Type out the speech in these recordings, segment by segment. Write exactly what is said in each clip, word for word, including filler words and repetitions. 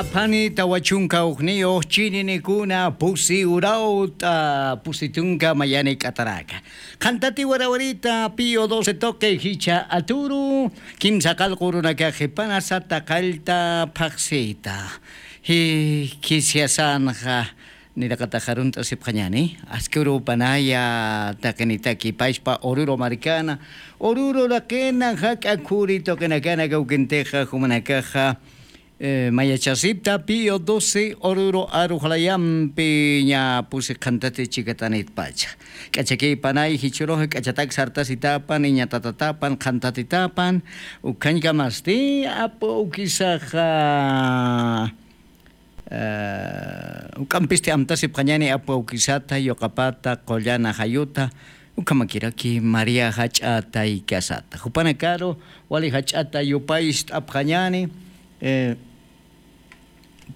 Aphani tawa chunka ujniyux chininikuna pusi urawt'a pusi tunka mayani k'ataraka. Qhantati warawarita Pío doce tuqi jichha aturu, kimsa qallqu urunakax qhipanasa taqallta phaxsita. Jikhisyasanxa, niraqatax arunt'asipxañani, aski urupanaya taqinitaki pachpa Oruro markana, Oruro raqina jak'a khuri tuqinakana kawkintixa jumanakaxa, eh, mayachasipta Pío doce Oruro aruxlayampi ña pusi qhantati chikatanitpacha. K'achakipanay jichhurux k'achatak sartasitapan, iñatatatapan, qhantatitapan, ukhañkamasti apu awkisaxa, eh, uk'ampisti amtasipxañani apu awkisata, yuqapata, qullana jayuta, ukhamakiraki María jach'a taykasata. Jupanakaru wali jach'ata yupaycht'apxañani, eh,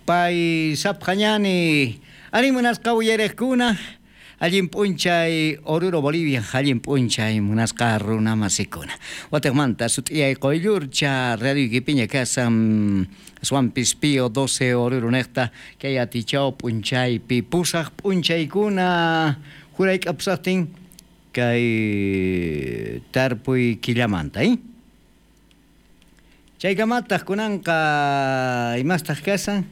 pay sapxañani, ari munasqa uyariqkuna, allin p'unchay Oruro Bolivia, allin p'unchay munasqa runamasikuna. Watixmanta sut'iyay quyllurcha radioykipiña kasan, aswampis Pío doce Oruro niqta, kay atichaw p'unchaypi pusax p'unchaykuna jurayk'apusaqtin kay tarpuy killamanta, ¿eh? Chaykamatax kunanqa imastax kasan?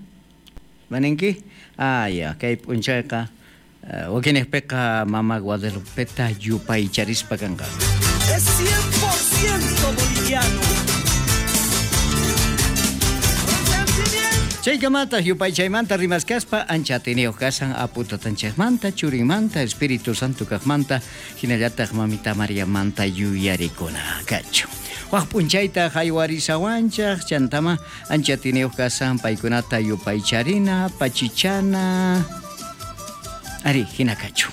¿Maninki? Ah, ya, kay p'unchayqa, eh, wakiniqpiqa Mama Guadalupeta yupaycharispa kanqa. Es cien por ciento boliviano. Chaykamatax yupaychaymanta rimaskaspa ancha atiniyux kasan Apu Tatanchikmanta, Churinmanta, Espíritu Santo kaqmanta, jinallatax Mamita Mariamanta yuyarikuna kachu. Wak p'unchayta jaywarisawanchik, chantama ancha atiniyux kasan paykunata yupaycharina, pachichana. Ari, jina kachu.